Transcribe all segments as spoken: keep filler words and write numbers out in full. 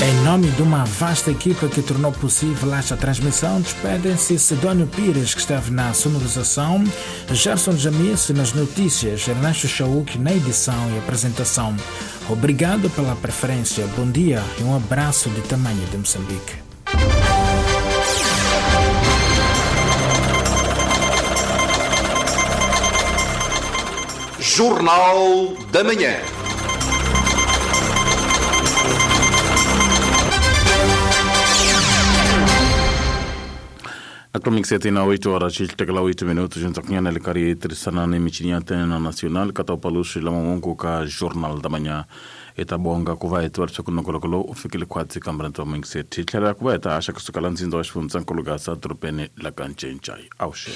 Em nome de uma vasta equipa que tornou possível esta transmissão, despedem-se Sidónio Pires, que esteve na sonorização, Gerson Jamice nas notícias, Ernesto Chauk na edição e apresentação. Obrigado pela preferência, bom dia e um abraço de tamanho de Moçambique. Jornal da Manhã. Akromik na oito horas e oito minutos junto com a Lecari Trisana Michinia Tena Nacional Catapalush Lamongo ka Jornal da Manhã etabonga kuva etwarisa kunokolokolo u fikile khwatsi kambra mixet hi tlhela ku va hi ta haxa kusuka la ndzindza wa xifundzankulu Gaza dorobeni la ka Ncencai awuxe.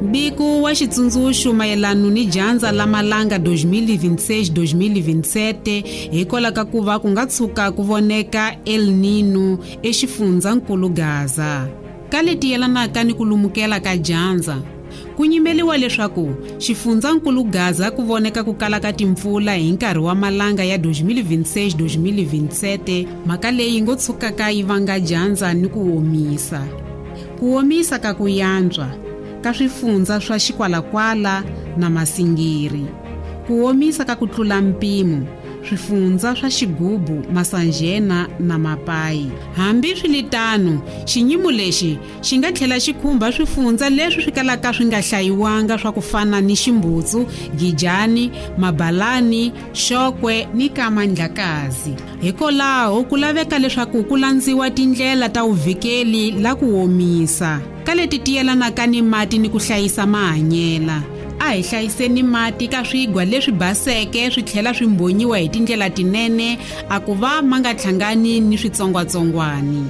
Mbiko wa xitsundzuxo mayelana ni dyandza la malanga dois mil e vinte e seis dois mil e vinte e sete hikwalaho ka ku va ku nga tshuka ku voneka El Nino exifundzankulu Gaza. Ka leti yelanaka ni ku lumukela ka dyandza, ku nyimeliwa leswaku xifundzankulu Gaza ku voneka ku kala ka timpfula hi nkarhi wa malanga ya dois mil e vinte e seis dois mil e vinte e sete, mhaka leyi ngo tshukaka yi vanga dyandza ni ku omisa. Ku omisa ka ku yantswa ka swifundza swa Xikwalakwala na Masingiri. Ku omisa ka ku tlula mpimo swifundza swa Xigubu, Masanjena na Mapai. Hambi swiritano, xinyimo lexi xi nga tlhela xi khumba swifundza leswi swi kalaka swi nga hlayiwanga swa ku fana ni Ximbutsu, Gijani, Mabalani, Xokwe ni Kamandlakazi. Hikwalaho ku laveka leswaku ku landziwa tindlela ta vuvikeli la ku omisa ka leti ti yelanaka ni mati ni ku hlayisa mahanyela. A hi hlayiseni mati ka swigwa leswi baseke swi tlhela swi mbonyiwa hi tindlela tinene a ku va ma nga hlangani ni switsongwatsongwani.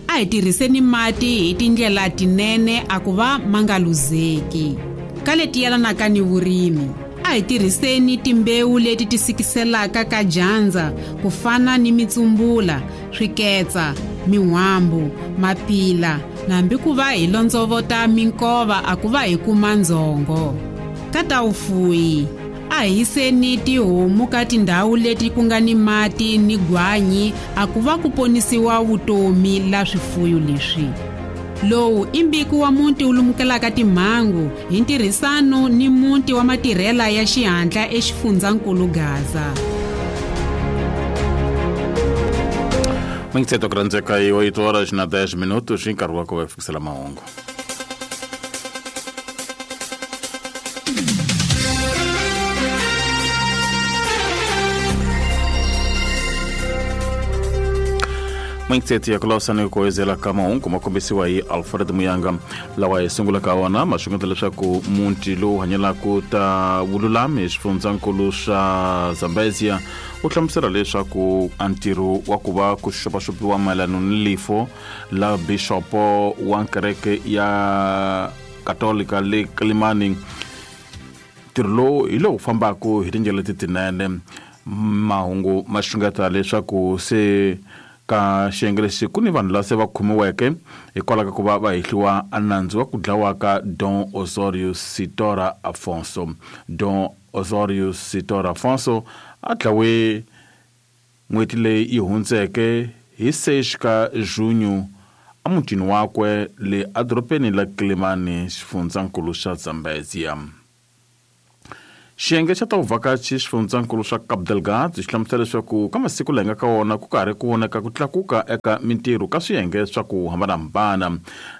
A hi tirhiseni mati hi tindlela tinene a ku va ma nga luzeki. Ka leti yelanaka ni vurimi, a hi tirhiseni timbewu leti ti sikiselaka ka dyandza ku fana ni mitsumbula, swiketsa, min'wambu, mapila, nambi ku va hi londzovota minkova a ku va hi kuma ndzhongo. Ka ta vufuwi, a hi yiseni tihomu ka tindhawu leti ku nga ni mati ni gwanyi a ku va ku ponisiwa vutomi la swifuyo leswi. Lowu i mbiko wa muti wu lumukelaka timhangu hi ntirhisano ni muti wa matirhela ya xihatla exifundzankulu Gaza. Mingitseto kurandzeka hi oito horas na dez minutos hi nkarhi wa ku va fikisela mahungu. Mingitseto ya kulawusani ku ezela ka mahungu ma kombisiwa hi Alfred Muyanga lawa hi sungulaka wona ma xungeta leswaku muti lowu hanyelaka ta vululami xifundzankulu xa Zambezia u hlamusela leswaku a ntirho wa ku va ku xopaxopiwa mayelana ni lifo la bixopo wa kereke ya Katolika le Kilimani ntirho lowu hi lowu fambaka hi tindlela leti tinene. Mahungu ma xungeta leswaku se ka xiyenge lexi ku ni vanhu lava se va khomiweke hikwalaho ka ku va va hehliwa a nandzu wa ku dlawa ka Don Osorio Sitora Afonso. Don Osorio Sitora Afonso a dlawe n'hweti leyi yi hundzeke hi seis ka junho emutini wakwe le edorobeni la Kilimani xifundzankulu xa Zambezia. Xiyenge xa ta vuvhakachi xifundzankulu xa Cabo Delgado xi hlamusela leswaku ka masiku laha hi nga ka wona ku karhi ku vonaka ku tlakuka eka mintirho ka swiyenge swa ku hambanahambana.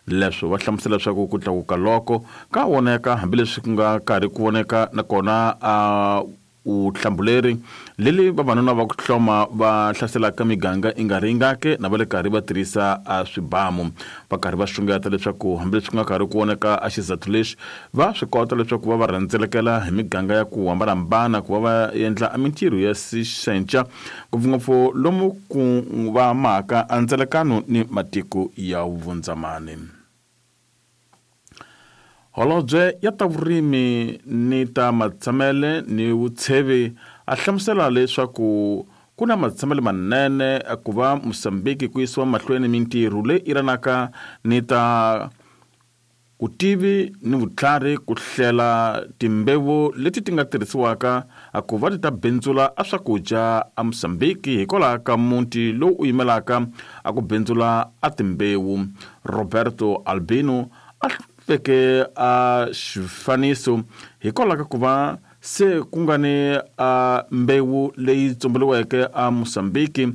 Leswo va hlamusela leswaku ku tlakuka loko ka voneka hambileswi ku nga karhi ku voneka nakona a vutihlamuleri leli vavanuna va ku hloma va hlaselaka miganga i nga ri ingake na va le karhi va tirhisa a swibamu va karhi va xungeta leswaku hambileswi ku nga karhi ku voneka a xizathu lexi va swi kota leswaku va va rhendzelekela hi miganga ya ku hambanahambana ku va va endla a mintirho ya sixenca ngopfungopfu lomu ku va maka a ndzelekano ni matiko ya vundzamani. Holobye ya ta vurimi ni ta matshamele ni vutshevi a hlamusela leswaku ku na matshamele manene ku va Mozambique ku yisiwa mahlweni mintirho leyi iranaka ni ta Kutivi ni vutlhari ku hlela timbewu leti ti nga tirhisiwaka ku va ti ta bindzula a swakudya a Mozambique hikwalaho ka muti lowu u yimelaka a ku bindzula a timbewu. Roberto Albino a veke a xifaniso hikwalaho ka ku va se ku nga ni a mbewu leyi tsomberiweke a Mozambique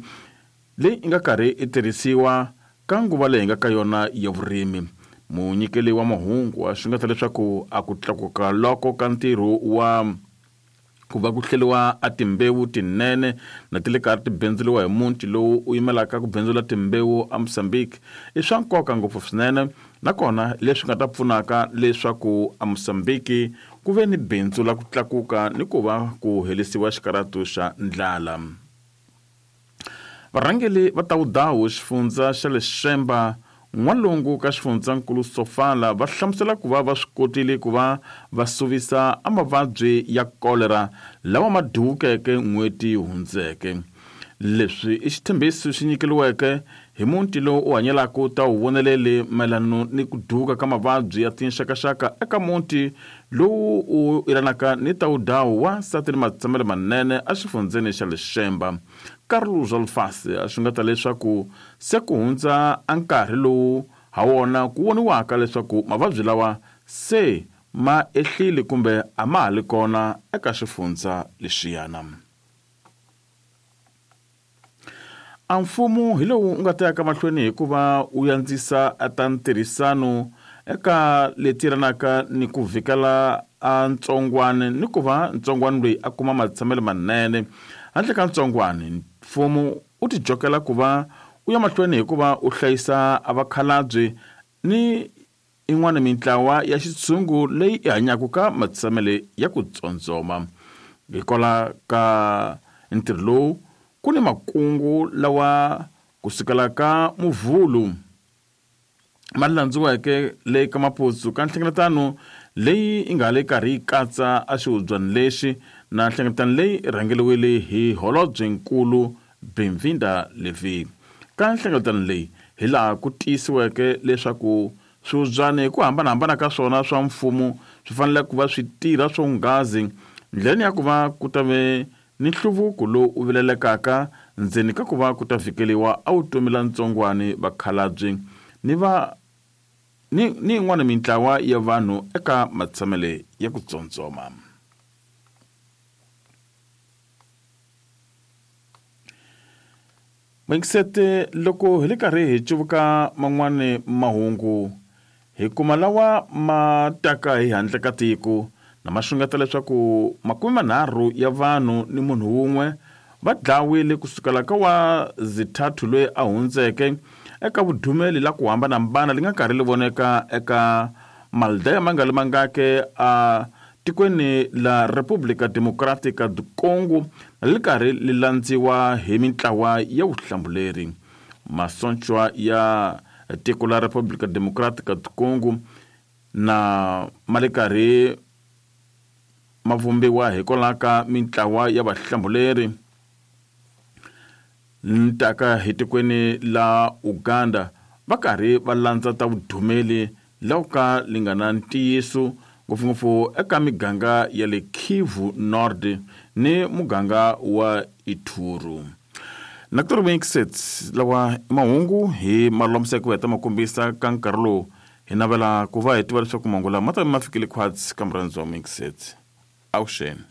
leyi nga karhi i tirhisiwa ka nguva leyi nga ka yona ya vurimi. Munyikeli wa mahungu a xungeta leswaku a ku tlakuka loko ka ntirho wa ku va ku hleriwa a timbewu tinene na ti le karhi ti bindzuriwa hi muti lowu u yimelaka ku bindzula timbewu a Mozambique i swa nkoka ngopfu swinene, nakona leswi nga ta pfunaka leswaku a Mozambique ku ve ni bindzu la ku tlakuka ni ku va ku helisiwa xikaratu xa ndlala. Varhangeli va Tawudawu xifundza xa le Xemba n'walungu ka xifundzankulu Sofala va hlamusela ku va va swi kotile ku va va suvisa a mavabyi ya kolera lawa ma duwukeke n'hweti hundzeke. Leswi i xitshembiso xi nyikeliweke hi muti lowu u hanyelaka ta wu voneleli mayelana ni ku duka ka mavabyi ya tinxakaxaka eka muti lowu u yelanaka ni Tawudawu wa nsati ni matshamelo manene exifundzeni xa le Xemba. Carlos Alfase a xungeta leswaku se ku hundza a nkarhi lowu ha wona ku voniwaka leswaku mavabyi lawa se ma ehlile kumbe a ma ha li kona eka xifundza lexiyana. A mfumo hi lowu u nga ta yaka mahlweni hikuva u yandzisa a ta ntirhisano eka leti yelanaka ni ku vhikela a ntsongwane ni ku va ntsongwane loyi a kuma matshamelo manene. Handle ka ntsongwane, mfumo u tijokela ku va u ya mahlweni hikuva u hlayisa a vakhalabye ni in'wana mintlawa ya xitshungu leyi i hanyaka ka matshamelo ya ku tsondzoma. Hikwalaho ka ntirho lowu ku ni makungu lawa kusukela ka Muvhulu ma landziweke le ka Maputsu ka nhlengeletano leyi yi nga le karhi yi katsa a xihubyana lexi na nhlengeletano leyi rhangeriwile hi holobyenkulu Benvinda Levi. Ka nhlengeletano leyi hi laha ku tiyisiweke leswaku swihubyana hi ku hambanahambana ka swona swa mfumo swi fanele ku va swi tirha swonghazi ndleleni ya ku va ku ta ve ni nhluvuko lowu u vilelekaka ndzeni ka ku va ku ta fikeliwa a vutomi la ntsongwani vakhalabye ni va ni ni yin'wana mintlawa ya vanhu eka matshamele ya ku tsondzoma. Mingisete loko hi le karhi hi cuvuka man'wani mahungu hi kuma lawa ma taka hi handle ka tiko na ma xungeta leswaku makume manharhu ya vanhu ni munhu wun'we va dlawile kusukela ka wa Zithathu loyi a hundzeke eka vudumeli la ku hambanahambana li nga karhi li voneka eka Maldeya ma nga li mangake a tikweni la Republika Democratica du Congo li karhi li landziwa hi mintlawa ya vuhlambuleri. Masochwa ya tiko la Republika Democratica du Congo na ma le karhi ma vumbiwa hikwalaho ka mintlawa ya vahlambuleri ntaka hi tikweni la Uganda va karhi va landza ta vudumeli lawa ka li nga na ntiyiso ngopfungopfu eka miganga ya le Kivu Nord ni muganga wa Ituri. Na ku ri lawa mahungu hi malulamiseke ku heta ma kombisa ka nkarhi lowu hi navela ku va hi tiva leswaku mahungu lama ma ta ma fikile khwatsi ka murhandzi wa Mixet. Avuxeni.